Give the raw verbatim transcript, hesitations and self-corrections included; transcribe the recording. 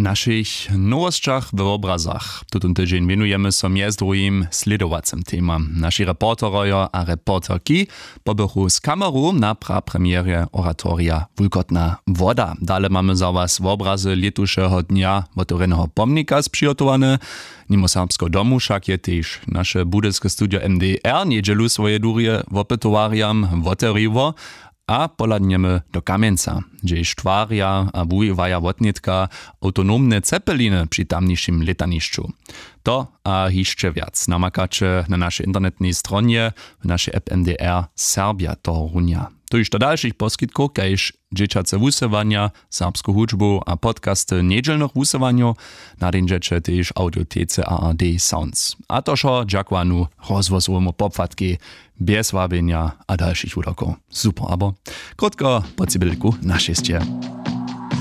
W našich nowosćach we wobrazach tutón tydźeń wěnujemy so mjez druhim slědowacym temam. Naši reporterojo a reporterki pobychu z kameru na prapremjerje oratorija Wulkotna woda. Dale mamy za was wobrazy lětušeho dnja wotewrjeneho pomnika spřihotowane. Nimo serbskeho domu wšak je tež naše budyske studio M D R njedźelu swoje durje wopytowarjam wotewriło a pohladnjemy do Kamjenca, hdźež twarja a wuwiwaja wotnětka awtonomne cepeliny při tamnišim lětanišću. To a hišće wjac namakaće na našej internetnej stronje, w našej app M D R Serbja tohorunja. Tuž do dalšich poskitkow kaž dźěćace wusyłanja, serbsku hudźbu a podcasty njedźelnych wusyłanjow nadinźeće tež w audiotece A R D Sounds. A to wšo dźakowanu rozhłosowemu popłatkej, bjez wabjenja a dalšich wudokow. Super, abo krótko po cibelku na šěsće.